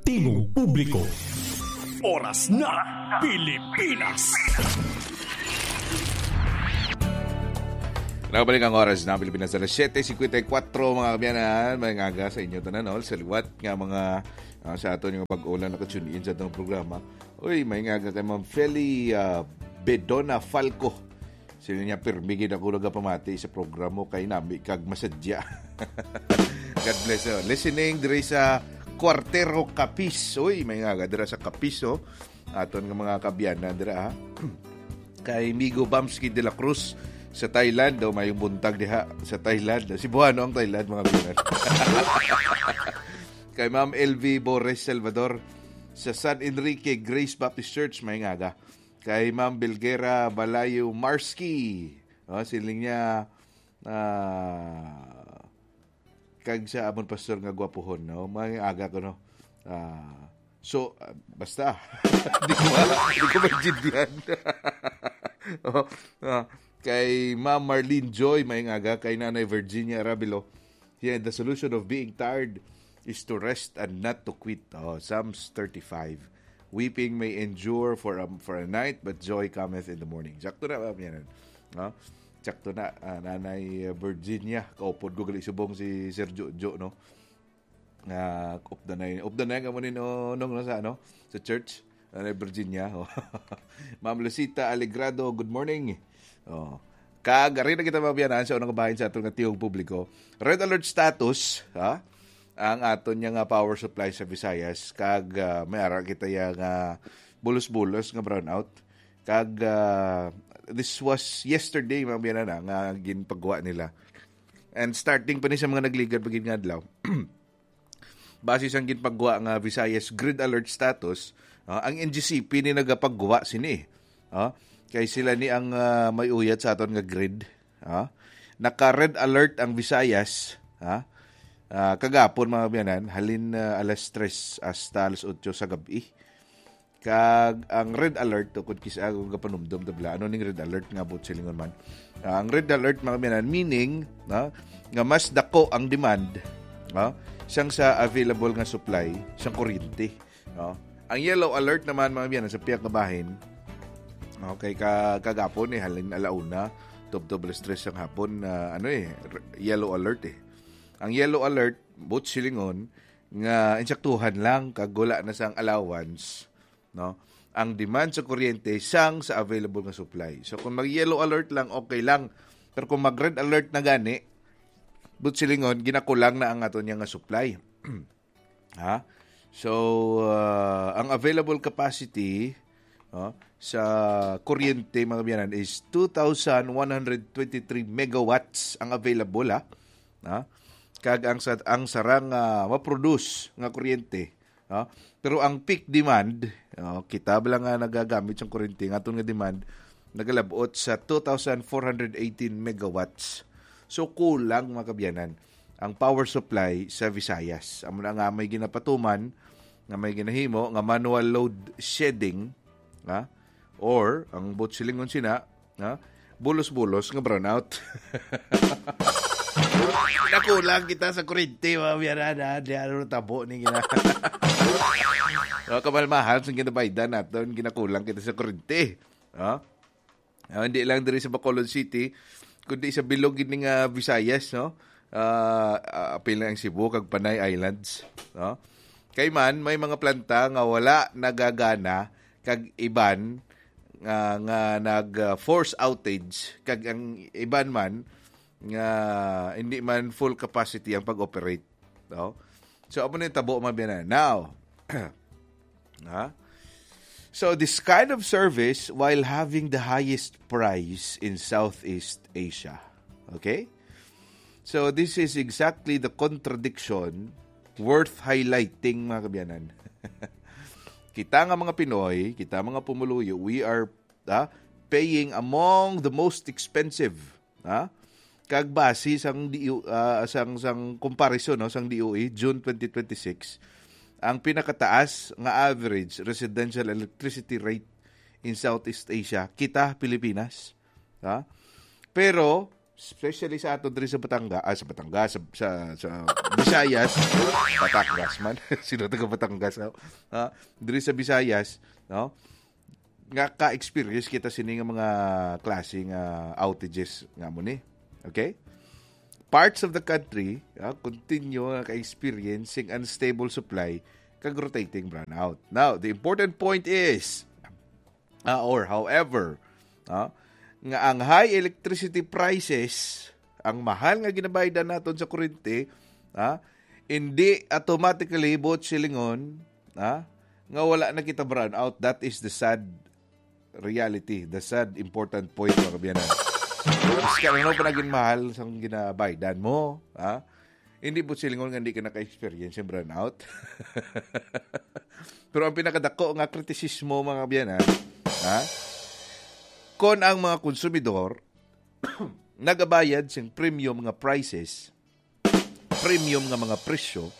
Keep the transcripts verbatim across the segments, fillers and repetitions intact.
Tingog Publiko. Oras na, Pilipinas. Nabalik ang oras na Pilipinas, alas siyete cincuenta y cuatro, mga kaabyanan. Maayong aga sa inyo tanan, no? Sa liwat nga mga, ah, sa aton nga mag-ulan, naka-tune in sa atong programa. Uy, maayong aga kay Ma'am Feli, ah, Bedona Falco. Sila niya, "Pirmi gid ako nagapamati sa programa kay nami kag masadya." God bless you. Listening diri sa Cuartero, Capiz. Uy, maayong aga dira sa Capiz, oh. Aton nga mga kaabyanan dira, ha. Kay Migo Bamski de la Cruz sa Thailand, daw maayong buntag diha sa Thailand. Cebuano ang Thailand, mga kaabyanan. Kay Ma'am L V Bores Salvador sa San Enrique Grace Baptist Church, maayong aga. Kay Ma'am Bilgera Balayo Marski. Oh, siling niya, ah, kag sa amon pastor nga gwapuhon, no? Maayong aga ko, no? Ah, so, ah, basta. Di ko ma-, di ko maintindihan. Oh, ah, kay Ma'am Marlene Joy, maayong aga. Kay Nanay Virginia Arabilo, "Yeah, the solution of being tired is to rest and not to quit." Oh, Psalms thirty-five. "Weeping may endure for a, for a night, but joy cometh in the morning." Sakto na ba yan? No? Sakto na, ah, Nanay, ah, Virginia. Kaupod ko gali subong si Sir Jojo, no? Ah, updanay, updanay ka mo ni, no, nung nasa, ano, sa church. Nanay Virginia. Oh. Ma'am Lucita Alegrado, good morning. Oh. Kag, ari na kita, mga kaabyanan, sa unang bahin sa aton nga tingog publiko. Red alert status, ha? Ang aton niya nga power supply sa Visayas. Kag, ah, may ara kita ya nga bulos-bulos nga brownout. Kag, ah, this was yesterday, mga kaabyanan, ah, nga ginpagwa nila. And starting pa ni sa mga nagligad pa gid nga adlaw. Base sang ginpagwa nga Visayas Grid Alert Status, ah, ang N G C P ni nagapagwa sini. Ah, kay sila ni ang, ah, may uyat sa aton nga grid. Ah, naka-red alert ang Visayas, ah, ah, kagapon, mga kaabyanan, halin, ah, alas tres hasta alas otso sa gab-i. Kag ang red alert, o kung kis-, ah, kung kapanumdum ta bala, ano ning red alert nga buot silingon man? Ah, ang red alert, mga kaabyanan, meaning, no, nga mas dako ang demand, no, sang sa available nga supply sang kuryente, no? Ang yellow alert naman, mga kaabyanan, sa pihak nga bahin, okay, ka-, kagapon, eh, halin alauna, tubtob alas tres sang hapon, ah, ano, eh, r-, yellow alert, eh. Ang yellow alert, buot silingon, nga insaktuhan lang, kag wala na sang allowance, no? Ang demand sa kuryente sang sa available nga supply. So, kung mag-yellow alert lang, okay lang. Pero kung mag-red alert na gani, buot silingon, ginakulang na ang ato niya nga supply. Ha? So, ah, ang available capacity, oh, sa kuryente, mga kaabyanan, is two thousand one hundred twenty-three megawatts ang available, ha? Ha? Kag ang sa-, ang sarang, ah, ma-produce nga kuryente, ha? Pero ang peak demand, oh, kita bala nga nagagamit sang kuryente, nga aton nga demand, nagalabot sa two thousand four hundred eighteen megawatts. So, kulang, mga kaabyanan, ang power supply sa Visayas. Amo na nga may ginapatuman, nga may ginahimo, nga manual load shedding, ha? Or, ang buot silingon sina, ha? Bulos-bulos nga brownout. Nakulang kita sa kuryente, mga kaabyanan, ha? Di ano tabo ni gina-, oh, kamalmahal sang ginabaydan naton, ginakulang kita sa kuryente. Ha? Ah, hindi lang diri sa Bacolod City, kundi sa bilog gid ni nga Visayas, no? Ah, ah, apil na ang Cebu kag Panay Islands, no? Kay man, may mga planta nga wala nagagana, kag iban nga, nga nag, ah, force outage, kag ang iban man nga hindi man full capacity ang pag-operate, no? So, amo na yung tabo, mga kaabyanan. Now, ha? So, this kind of service while having the highest price in Southeast Asia. Okay? So, this is exactly the contradiction worth highlighting, mga kaabyanan. Kita nga mga Pinoy, kita mga pumuluyo, we are, ah, paying among the most expensive, ha? Kag base sang D O, ah, sang, sang comparison, no, sang D O E, June twenty twenty-six, ang pinakataas nga average residential electricity rate in Southeast Asia, kita, Pilipinas. Ha? Pero, especially sa ato diri sa Batangas, ah, sa Batangas, sa, sa, sa Visayas, Batangas man, sino taga Batangas, no? Ah, diri sa Visayas, no? Nga ka-experience kita sini nga mga klase nga outages nga mo ni. Okay? Parts of the country, ah, continue nga ka-experience sing unstable supply kag rotating brownout. Now, the important point is, ah, or however, ah, nga ang high electricity prices, ang mahal nga ginabaydan naton sa kurente, ah, hindi automatically buot silingon, ah, nga wala na kita brownout. That is the sad reality, the sad important point, mga kaabyanan. Mas ka ano pa naging mahal sang ginabaydan mo, ah, hindi buot silingon nga hindi ka naka-experience sa brownout. Pero ang pinakadako nga kritisismo, mga kaabyanan, ha? Kon ang mga konsumidor nagabayad sing premium nga prices, premium nga mga presyo,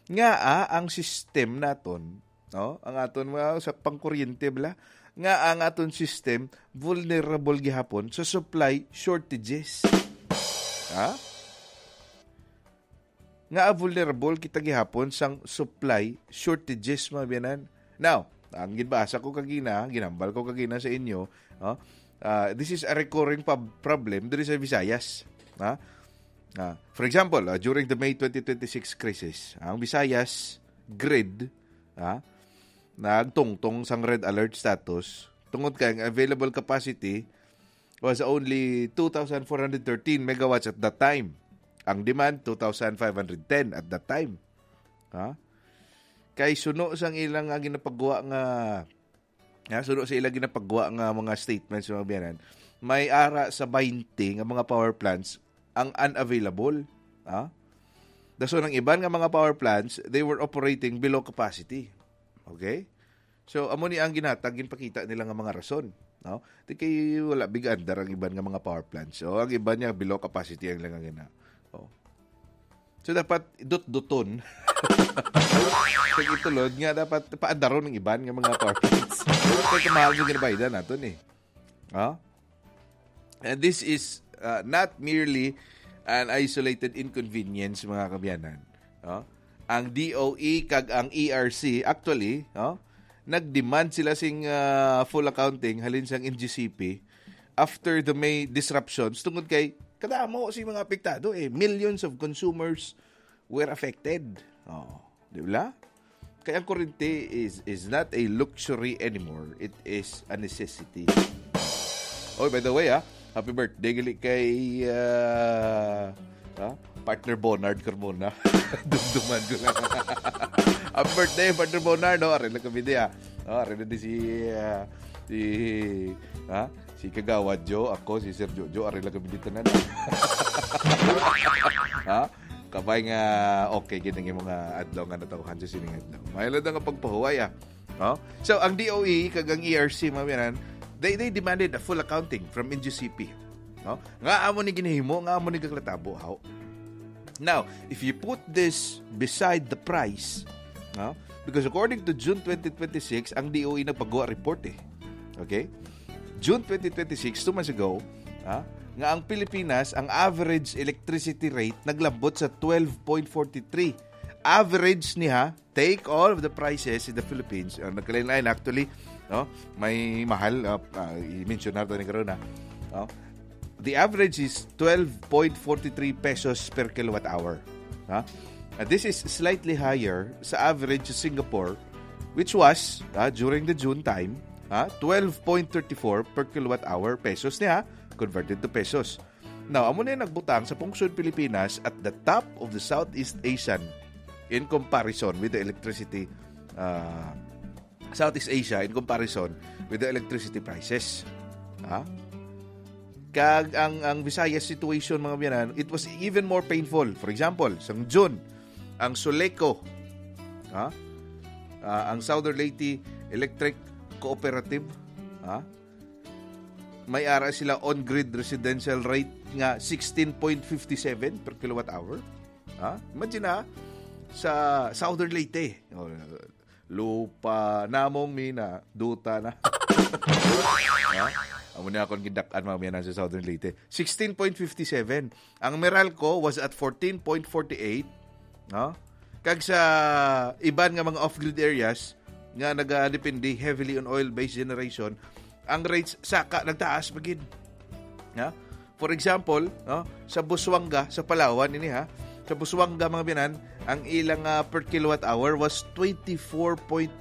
nga, ah, ang system naton, no? Ang aton, well, sa pangkuryente bala, nga ang aton system vulnerable gihapon sa supply shortages. Ha? Nga vulnerable kita gihapon sang supply shortages, mga kaabyanan. Now, ang ginbasa ko kagina, ginambal ko kagina sa inyo, no? Ah, this is a recurring pub- problem diri sa Visayas. Ha? Ah, for example, ah, during the May twenty twenty-six crisis, ang Visayas grid, ah, nagtungtong sang red alert status tungod kay ang available capacity was only two thousand four hundred thirteen megawatts at that time. Ang demand, two thousand five hundred ten at that time. Ha? Kay suno sang ilang nga ginapagwa nga, ha, suno sa ilang ginapagwa nga mga statements, mga kaabyanan, may ara sa twenty nga mga power plants ang unavailable. Ha? Dason ang iban nga mga power plants, they were operating below capacity. Okay? So, amo ni ang ginhatag, ginpakita nila nga mga rason, no? Di kay wala big andar ang iban nga mga power plants. So, ang iban niya below capacity ang ilang gina. Oh. So, dapat dut-duton. Kag itulod nga dapat paandaron ang iban nga mga power plants. Kay kamahal sa ginabaydan naton eh. Ha? And this is, uh, not merely an isolated inconvenience, mga kaabyanan. No? Ang D O E kag ang E R C, actually, no? Nag-demand sila sing, uh, full accounting halin sang N G C P after the May disruptions tungod kay kadamo si mga apektado eh. Millions of consumers were affected. Oh, di ba? Kaya ang kurente is, is not a luxury anymore. It is a necessity. Oh, by the way, ah, happy birthday gali kay, ah, ah, partner Bonard Carmona. Dumduman ko lang. Happy birthday, partner Bonard, no? Ari lang kami di, ah. Oh, ari na di si, ah, si, ha? Si Kagawad Joe, ako, si Sir Jojo, ari lang kami di tanan. Ha? Kabay nga okay gid ang imong adlaw nga natawhan sa sining adlaw. May lang nga pagpahuway, ah. No? So, ang D O E kag ang E R C, mga kaabyanan, they, they demanded a full accounting from N G C P. No? Nga amo ni ginahimo, nga amo ni gaglatabo, how? Now, if you put this beside the price, no? Because according to June twenty twenty-six, ang D O E nagpagawa report eh. Okay? June twenty twenty-six, two months ago, ha, nga ang Pilipinas, ang average electricity rate naglambot sa twelve point four three. Average niya, take all of the prices in the Philippines, uh, nagkalain-lain actually, no? May mahal, uh, uh, i-mention nato ni karon na, no? The average is twelve point four three pesos per kilowatt hour. Ha? And this is slightly higher sa average sa Singapore, which was, ah, during the June time, ah, twelve point thirty-four per kilowatt hour pesos niya, converted to pesos. Now, amo na yung nagbutang sa pungsod Pilipinas at the top of the Southeast Asian in comparison with the electricity, ah, Southeast Asia in comparison with the electricity prices. Ha? Kag ang, ang Visayas situation, mga kaabyanan, it was even more painful. For example, sang June, ang Suleco, ha? Ah, ang Southern Leyte Electric Cooperative, ha? May ara sila on-grid residential rate nga sixteen point fifty seven per kilowatt hour. Ha? Imagine na, sa Southern Leyte. Oh, lupa namong mina, duta na. Ha? Amo na akong gidak-an, mga biyanan, sa Southern Leyte. Sixteen point fifty seven. Ang Meralco was at fourteen point forty eight. No? Kag sa iban nga mga off-grid areas nga nagadepende heavily on oil-based generation, ang rates saka nagtaas pa gid. Ha? For example, no, sa Busuanga, sa Palawan ini, ha, sa Busuanga, mga biyanan, ang ilang, ah, per kilowatt hour was twenty-four point nine